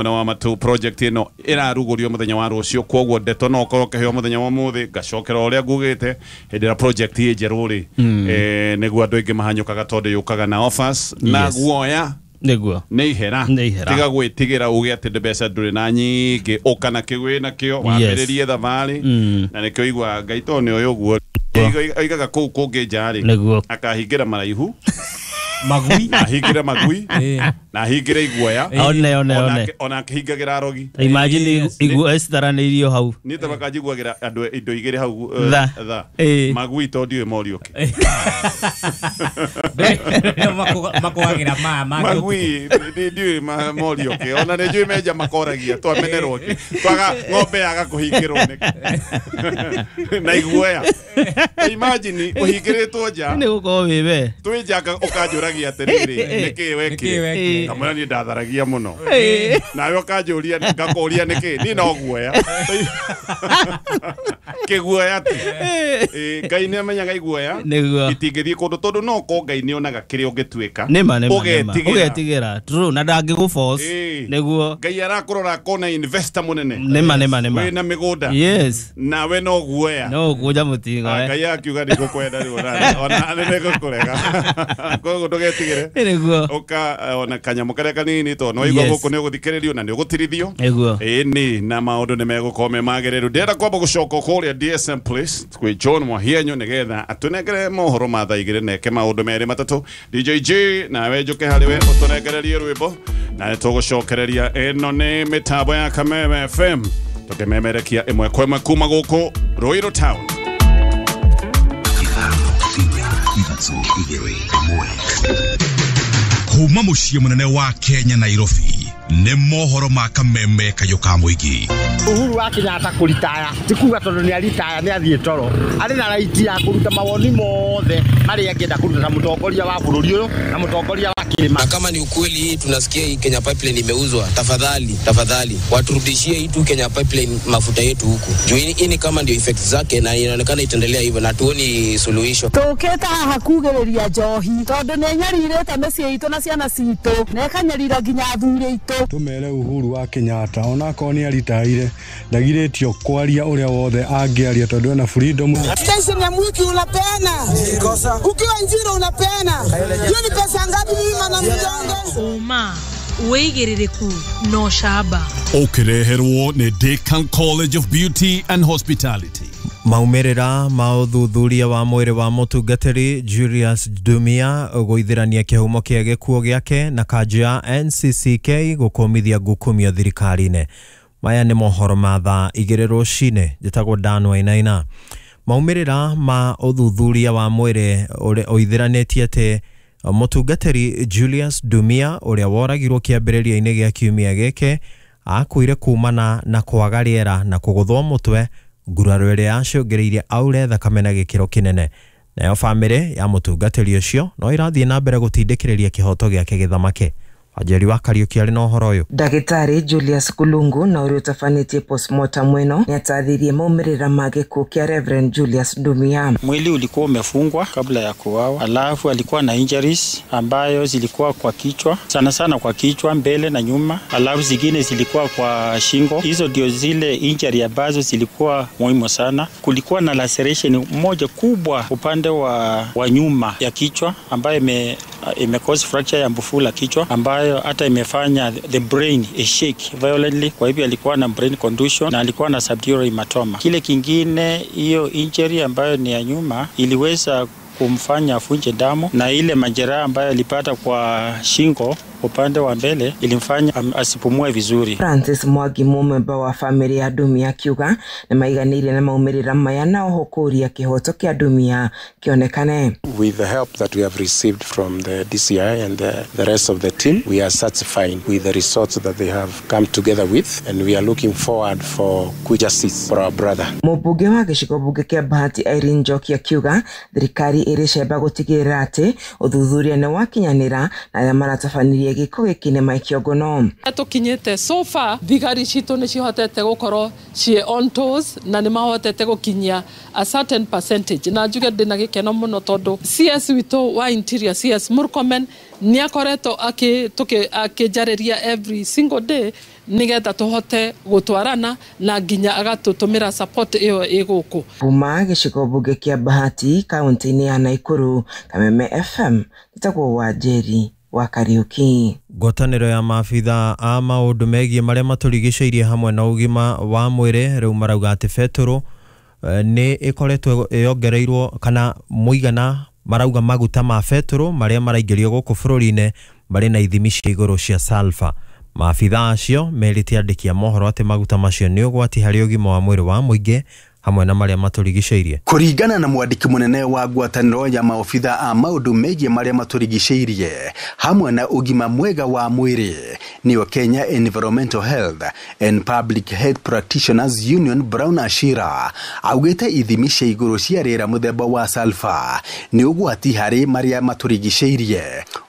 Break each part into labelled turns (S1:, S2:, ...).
S1: Mwena wa matu project ĩno ĩrarugũrio mũthenya wa rũciũ, kwoguo ndeto no ũkorwo ũkĩheo mũthenya wa ũmũthĩ. Ngacokera ũrĩa ngugĩte hĩndĩ ĩrĩa project ĩ njerũ rĩ, nĩguo andũ aingĩ mahanyũkaga tondũ yũkaga na offers na guoya.
S2: Nĩguo.
S1: Nĩ ihera.
S2: Nĩ ihera.
S1: Tiga gwĩtigĩra uge atĩ mbeca ndũrĩ na nyingĩ, ũka na kĩu wĩ nakĩo wambĩrĩrie thabarĩ. Na nĩkĩo igua Ngai tondũ nĩ ũyũ ũguo oigaga kũu kũngĩ nja rĩ, akahingĩra maraihu,
S3: magui,
S1: na ahingĩre magui, na ahingĩre iguoya.
S2: One, one, one.
S1: Ona akĩhingagĩra arogi.
S2: Imagine iguo citaranĩirio hau.
S1: Niĩ ta makanjiguagĩra andũ indo igĩrĩ hau,
S2: Tha.
S1: tha.
S2: Ĩĩ.
S1: Magui tondũ ndiũĩ moriũke.
S3: Makũgagĩra maya mangĩ.
S1: Magui ndiũĩ moriũke, ona nĩ njũĩ menja makoragia twamenerwo kĩ twaga ng'ombe yaga kũhingĩrwo nĩkĩ na iguoya. Imagine ũhingĩrĩtwo nja.
S2: Nĩ gũkorwo wĩ we.
S1: Twĩ nja ũkanjũragia atĩrĩrĩ, nĩkĩ
S3: Nĩkĩ
S1: wekire?
S3: wekire?
S1: Kamwĩra niĩ ndatharagia mũno, nawe ũkanjũria ngakũria nĩkĩ, niĩ no guoya kĩguoya ti. Ĩ, Ngai nĩ amenyaga iguoya itingĩthiĩ kũndũ tondũ no ko Ngai nĩ onaga kĩrĩa ũngĩtuĩka.
S2: Nĩma, nĩma, nĩma.
S1: Ũgetigĩra.
S2: Ũgetigĩra, true, na ndangĩgũ force. Nĩguo.
S1: Ngai arakũrora akona investor mũnene
S2: Nĩma, nĩma, nĩma.
S1: wĩna mĩgũnda, nawe no guoya.
S2: No ũkũnja mũtingo.
S1: Ah, Ngai akiuga ndigũkwenda rĩu, ona nĩngũkũrega, koguo ndũgetigĩre. Ũka ona kanyamũ karĩa kanini tondũ nĩwaigua gũkũ nĩ ũgũthikĩrĩrio na nĩ ũgũtirithio. Ĩni na maũndũ nĩ megũkorwo me magĩrĩru. Ndĩrenda kwamba gũcoka kũrĩa DSM Place kwĩ John Mwahienyo nĩgetha atũnengere mohoro ma thaa 2 na eke maũndũ merĩ matatũ. DJ J, nawe njũke harĩ we ũtũnengererie rwĩmbo na nĩ tũgũcokereria. Ĩno nĩ mĩtambo ya Kameme FM tũkĩmemerekia ĩmwe kwa ĩmwe kuma gũkũ Ruiru Town.
S4: 5 2 1. Kuma mũciĩ mũnene wa Kenya, Nairobi, nĩ mohoro ma Kameme kayũ ka mũingĩ.
S5: Uhuru wa Kenyatta kũritaya ti kuga tondũ nĩ aritaya nĩ athiĩ toro. Arĩ na right ya kũruta mawoni mothe marĩa angĩenda kũruta ta mũtongoria wa bũrũri ũyũ na mũtongoria wa kĩrĩma.
S6: Na kama ni ukweli hii tunasikia hii Kenya Pipeline imeuzwa, tafadhali tafadhali waturudishie hii tu Kenya Pipeline mafuta yetu huku juu hii ni kama ndio effect zake na inaonekana itaendelea hivyo na tuoni suluhisho.
S7: Tũkĩte haha kugĩrĩria njohi tondũ nĩ nyarirĩte mĩciĩ itũ na ciana citũ na ĩkanyarira nginya athuri aitũ.
S8: Tumere Uhuru wa Kenyatta onakorwo nĩ aritaire ndagirĩtio kwaria ũrĩa wothe angĩaria tondũ ena freedom.
S9: Station ya mwiki unapeana, ukiwa Njiro unapeana, hiyo ni pesa ngapi? Mimi mana mjonge.
S10: Ũma, wĩigĩrĩrĩku na ũcamba.
S1: Ũkĩreherwo nĩ Decan College of Beauty and Hospitality.
S11: Maumĩrĩra ma ũthuthuria wa mwĩrĩ wa mũtungatĩri Julius Dumia gũithĩrania kĩhumo kĩa gĩkuũ gĩake na kanjũ ya NCCK gũkũmithia ngukumio thirikari-inĩ. Maya nĩ mohoro ma thaa 2 rũcinĩ. Njĩtagwo Dan Wainaina. Maumĩrĩra ma ũthuthuria wa mwĩrĩ ũrĩa ũithĩranĩtie atĩ mũtungatĩri Julius Dumia ũrĩa woragirwo kĩambĩrĩria-inĩ gĩa kiumia gĩkĩ akuire kumana na kwaga rĩera na kũgũthwo mũtwe, nguraro ĩrĩa yacũngĩrĩirie aure thakame na gĩkĩro kĩnene. Nayo bamĩrĩ ya mũtungatĩri ũcio no ĩrathiĩ na mbere gũtindĩkĩrĩria kĩhoto gĩake gĩthamake. Wanjeri wa Kariũki arĩ na ũhoro ũyũ.
S12: Ndagĩtarĩ Julius Kulungu na ũrĩa ũtabanĩtie postmortem ĩno nĩatarĩirie maumĩrĩra ma gĩkuũ kĩa Reverend Julius Ndumia.
S13: Mwili ulikuwa umefungwa kabla ya kuuawa, alafu alikuwa na injuries ambayo zilikuwa kwa kichwa, sana sana kwa kichwa mbele na nyuma, alafu zingine zilikuwa kwa shingo. Hizo ndio zile injury ambazo zilikuwa muhimu sana. Kulikuwa na laceration moja kubwa upande wa nyuma ya kichwa ambayo ime cause fracture ya mfupa la kichwa ambayo hata imefanya the brain shake violently. Kwa hivyo alikuwa na brain contusion na alikuwa na subdural hematoma. Kile kingine, hiyo injury ambayo ni ya nyuma iliweza kumfanya avunje damu, na ile majeraha ambayo alipata kwa shingo upande wa mbele ilimfanya asipumue vizuri.
S12: Francis Mwangi, mũmemba wa bamĩrĩ ya Ndumia, akiuga nĩ maiganĩire na maumĩrĩra maya na oho kũũria kĩhoto kĩa Ndumia kĩonekane.
S14: With the help that we have received from the DCI and the rest of the team, we are satisfied with the results that they have come together with, and we are looking forward for quick justice for our brother.
S12: Mũmbunge wa gĩcigo mbunge kĩa Bahati Irene Njoki akiuga thirikari ĩrĩ cemba gũtigĩrĩra atĩ ũthuthuria nĩ wakinyanĩra na arĩa maratabanirie Warĩrĩria gĩko gĩkĩ nĩ Mike Ogono.
S15: Tũkinyĩte so far thigari citũ nĩ cihotete gũkorwo ciĩ on toes na nĩ mahotete gũkinyia a certain percentage, na njuge ndĩna gĩkeno mũno tondũ CS witũ wa Interior CS Murkomen nĩ akoretwo akĩnjarĩria every single day nigetha tũhote gũtwarana na nginya agatũtũmĩra support ĩyo ĩgũkũ.
S12: Kuma gĩcigo mbunge kĩa Bahati kaunti-inĩ ya Nakuru, Kameme FM, njĩtagwo Wanjeri wa Kariuki.
S11: Ngwatanĩro ya maabitha a maũndũ megiĩ marĩa matũrigicĩirie hamwe na ũgima wa mwĩrĩ rĩu marauga atĩ betũrũ nĩ ĩkoretwo yongereirwo kana mũigana marauga maguta ma betũrũ marĩa maraingĩrio gũkũ bũrũri-inĩ marĩ na ithimi cia igũrũ cia sulfur. Maabitha acio merĩte andĩki a mohoro atĩ maguta macio nĩ ũgwati harĩ ũgima wa mwĩrĩ wa mũingĩ hamwe na marĩa matũrigicĩirie.
S16: Kũringana na mwandĩki mũnene wa ngwatanĩro ya maobitha a maũndũ megiĩ marĩa matũrigicĩirie hamwe na ũgima mwega wa mwĩrĩ nĩyo Kenya Environmental Health and Public Health Practitioners Union Brown Ashira augĩte ithimi cia igũrũ cia rĩera mũthemba wa sulfur nĩ ũgwati harĩ marĩa matũrigicĩirie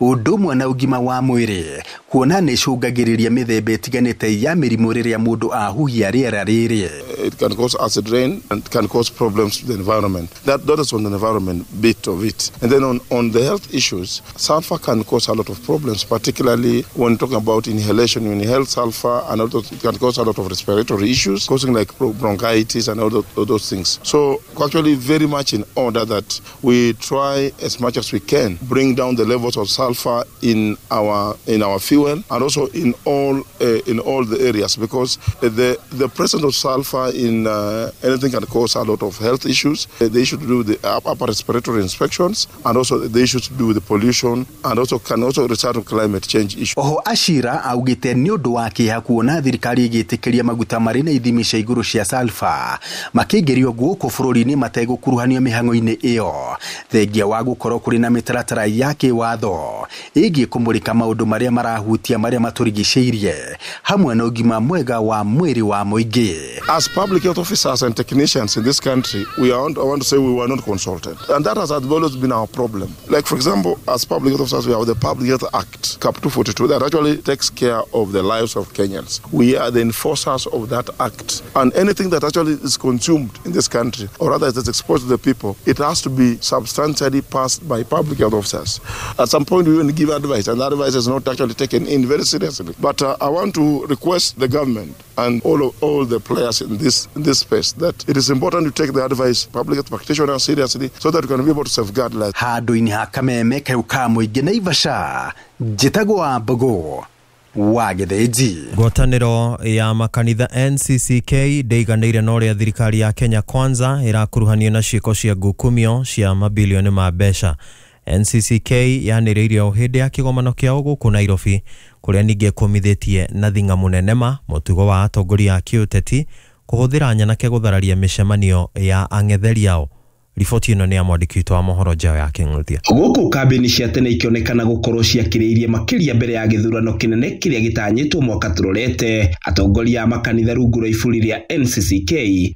S16: ũndũ ũmwe na ũgima wa mwĩrĩ kuona nĩ icũngagĩrĩria mĩthemba ĩtiganĩte ya mĩrimũ rĩrĩa mũndũ ahuhia rĩera rĩrĩ.
S17: It can cause acid rain and can cause problems to the environment. That is on the environment bit of it. And then on the health issues, sulfur can cause a lot of problems, particularly when talking about inhalation. When you inhale sulfur, and also it can cause a lot of respiratory issues, causing like bronchitis and all those things. So actually very much in order that we try as much as we can bring down the levels of sulfur in our fuel and also in all the areas, because the presence of sulfur in anything can cause a lot of health issues. The issue to do with the upper respiratory inspections, and also the issues to do with the pollution, and also can also result in climate change issues.
S16: Oho Ashira augite nĩ ũndũ wa kĩeha kuona thirikari ĩgĩtĩkĩria maguta marĩ na ithimi cia igũrũ cia sulfur makĩingĩrio gũkũ bũrũri-inĩ mategũkuruhanio mĩhang'o-inĩ ĩyo, thengia wa gũkorwo kũrĩ na mĩtaratara ya kĩwatho ĩgiĩ kũmũrĩka maũndũ marĩa marahutia marĩa matũrigicĩirie hamwe na ũgima mwega wa mwĩrĩ wa mũingĩ.
S17: As public health officers and technicians in this country, I want to say we were not consulted. And that has always been our problem. Like, for example, as public health officers, we have the Public Health Act, Cap 242, that actually takes care of the lives of Kenyans. We are the enforcers of that act. And anything that actually is consumed in this country, or rather is exposed to the people, it has to be substantially passed by public health officers. At some point, we even give advice, and that advice is not actually taken in very seriously. But I want to request the government and all the players in this space that it is important to take the advice public health practitioners seriously so that we can be able to safeguard lives.
S16: Handũ-inĩ ha Kameme kayũ ka mũingĩ Naivasha, njĩtagwo wa Mbogo wa Gĩthĩnji.
S11: Ngwatanĩro ya makanitha NCCK ndĩiganĩire na ũrĩa thirikari ya Kenya Kwanza ĩrakuruhanio na ciĩko cia ngukumio cia mabilioni ma mbeca. NCCK yanĩrĩire o hĩndĩ ya kĩgomano kĩao gũkũ Nairobi kũrĩa ningĩ kũmithĩtie na thing'a mũnene ma mũtugo wa atongoria a kĩũteti kũhũthĩra nyanake gũthararia mĩcemanio ya ang'etheri ao. Riboti ĩno nĩ ya mwandĩki witũ wa mohoro Njao ya Kĩng'ũthia.
S18: Gũkũ kambĩini cia tene ikĩonekana gũkorwo ciakĩrĩirie makĩria mbere ya gĩthurano kĩnene kĩrĩa gĩtanyĩtwo mwaka tũrorete. Atongoria a makanitha rungu rwa iburi rĩa NCCK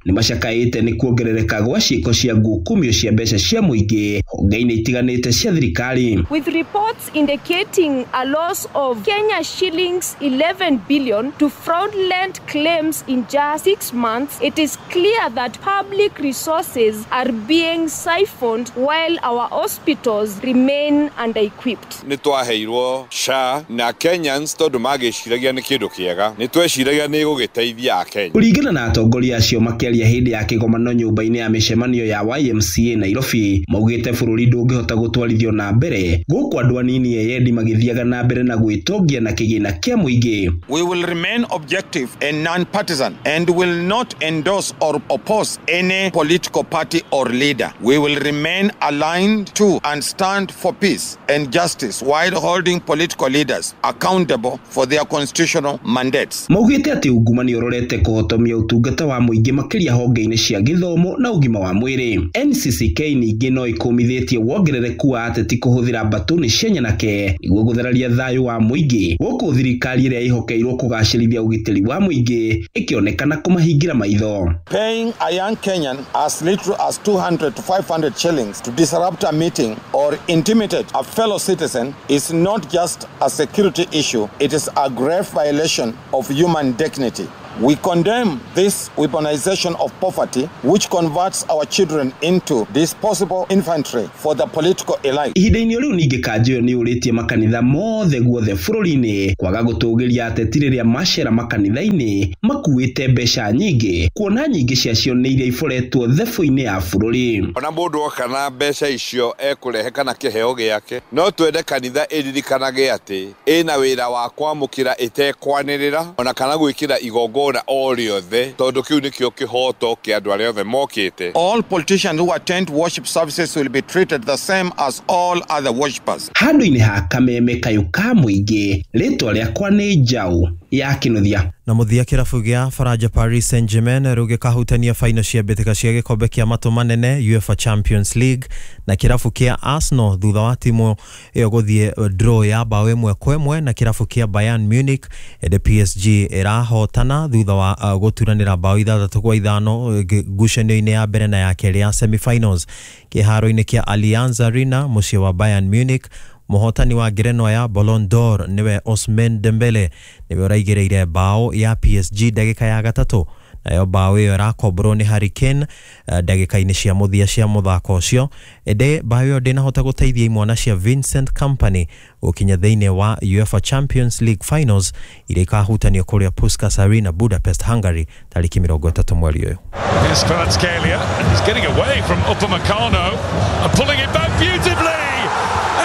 S18: nĩ macakaĩte nĩ kuongerereka gwa ciĩko cia ngukumio cia mbeca cia mũingĩ honge-inĩ itiganĩte cia thirikari.
S19: With reports indicating a loss of Kenya shillings 11 billion to fraudulent claims in just 6 months, it is clear that public resources are being siphoned while our hospitals remain under-equipped.
S20: Nĩ twaheirwo SHA na Kenyans tondũ magĩciragia nĩ kĩndũ kĩega, nĩ tweciragia nĩ gũgĩteithia Akenya.
S18: Kũringana na atongoria acio makĩaria hĩndĩ ya kĩgomano nyũmba-inĩ ya mĩcemanio ya YMCA Nairobi, maugĩte bũrũri ndũngĩhota gũtwarithio na mbere gũkũ andũ anini eyendi magĩthiaga na mbere na gwĩtongia na kĩgĩna kĩa mũingĩ.
S21: We will remain objective and non-partisan and will not endorse or oppose any political party or leader. We will remain aligned to and stand for peace and justice while holding political leaders accountable for their constitutional mandates.
S18: Maugĩte atĩ ungumania ũrorete kũhotomia ũtungata wa mũingĩ makĩria honge-inĩ cia gĩthomo na ũgima wa mwĩrĩ. NCCK ningĩ no ĩkũmithĩtie wongerereku wa ateti kũhũthĩra mbatũni cia nyanake nĩguo gũthararia thayũ wa mũingĩ, gũkũ thirikari ĩrĩa ĩhokeirwo kũgacĩrithia ũgitĩri wa mũingĩ ĩkĩonekana kũmahingĩra maitho.
S21: Paying a young Kenyan as little as 200 200 to 500 shillings to disrupt a meeting or intimidate a fellow citizen is not just a security issue, it is a grave violation of human dignity. We condemn this weaponization of poverty, which converts our children into disposable infantry for the political elite.
S18: Ihinda-inĩ rĩu ningĩ kanjũ ĩyo nĩ yũrĩtie makanitha mothe guothe bũrũri-inĩ kwaga gũtũgĩria ateti rĩrĩa macera makanitha-inĩ makuĩte mbeca nyingĩ kuona nyingĩ ciacio nĩ iria iboretwo thebũ-inĩ ya bũrũri.
S20: Ona mũndũ oka na mbeca icio ekũrehe kana kĩheo gĩake, no twende kanitha ĩririkanage atĩ ĩna wĩra wa kwamũkĩra ĩtekwanĩrĩra ona kana gwĩkĩra igongona o rĩothe tondũ kĩu nĩkĩo kĩhoto kĩa andũ arĩa othe mokĩte.
S21: All politicians who attend worship services will be treated the same as all other worshippers.
S18: Handũ-inĩ ha kameme kayũ ka mũingĩ, rĩtwa rĩakwa nĩ Njaũ ya Kĩnuthia.
S11: Na mũthia kĩrabu gĩa Faranja Paris Saint-Germain rĩu gĩkahutania faino cia mbĩtĩka cia gĩkombe kĩa matũ manene UEFA Champions League na kĩrabu kĩa Arsenal thutha wa timu ĩyo gũthiĩ draw ya bao 1-1 na kĩrabu kĩa Bayern Munich. Ĩndĩ PSG ĩrahotana thutha wa gũturanĩra bao 6-5 ngucanio-inĩ ya mbere na ya kerĩ ya semi-finals kĩharo-inĩ kĩa Allianz Arena mũciĩ wa Bayern Munich. Mũhotani wa ngerenwa ya Ballon d'Or niwe Ousmane Dembele niwe ũraigĩrĩire bao ya PSG ndagĩka ya 3, nayo bao ĩyo ĩrakomborwo nĩ Harry Kane ndagĩka-inĩ cia mũthia cia mũthako ũcio. Ĩndĩ bao ĩyo ndĩnahota gũteithia imwana cia Vincent Kompany gũkinya thĩinĩ wa UEFA Champions League Finals iria ikahutanio kũrĩa Puskas Arena Budapest, Hungary tarĩki 30 mweri ũyũ.
S3: Here's Kvaratskhelia, and he's getting away from Upamecano and pulling it back beautifully.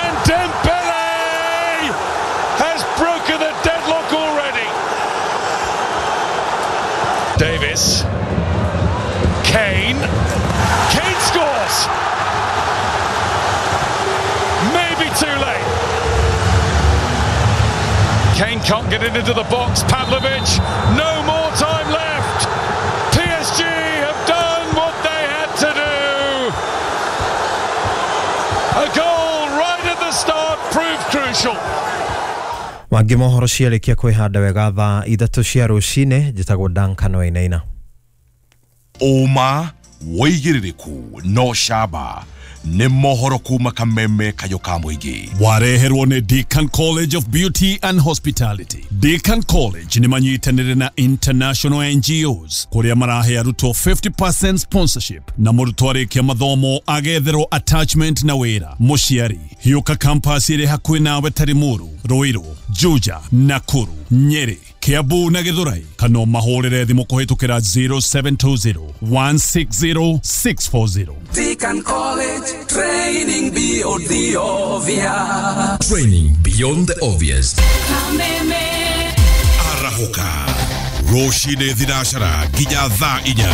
S3: And Dembele has broken the deadlock already. Davis, Kane, Kane scores. Maybe too late. Kane can't get it into the box. Pavlovic, no more time left. PSG have done what they had to do. A goal right at the start proved crucial.
S11: Mangĩ mohoro ciarĩkia kwĩhanda wega thaa 3 cia rũcinĩ. Njĩtagwo Duncan Wainaina.
S4: Ũma wĩigĩrĩrĩku no camba nĩ mohoro kuma kameme kayũ ka mũingĩ.
S22: Wareherwo nĩ Deacon College of Beauty and Hospitality. Deacon College nĩ manyitanĩire na international NGOs kũrĩa marahe arutwo 50% sponsorship na mũrutwo arĩkia mathomo agetherwo attachment na wĩra. Mũciari hiũka campus ĩrĩ hakuhĩ nawe ta Limuru, Ruiru, Juja, Nakuru, Nyeri, Kiambu na Githurai, kana mahũrĩre thimũ kũhĩtũkĩra 0720 160 640.
S23: Deacon College, training beyond the obvious.
S24: Training beyond the obvious.
S4: Arahũka rũcinĩ thinacara nginya thaa 4.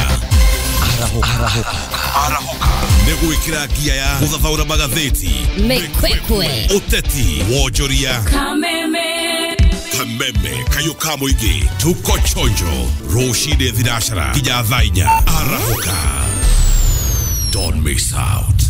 S4: Arahũka nĩ gwĩkĩra ngia ya gũthathaũra magathĩti,
S25: mĩkwekwe,
S4: ũteti, wonjoria,
S25: kameme
S4: kameme kayũ ka mũingĩ. Tuko chonjo rũcinĩ thinacara nginya thaa 4. Arahũka, don't miss out.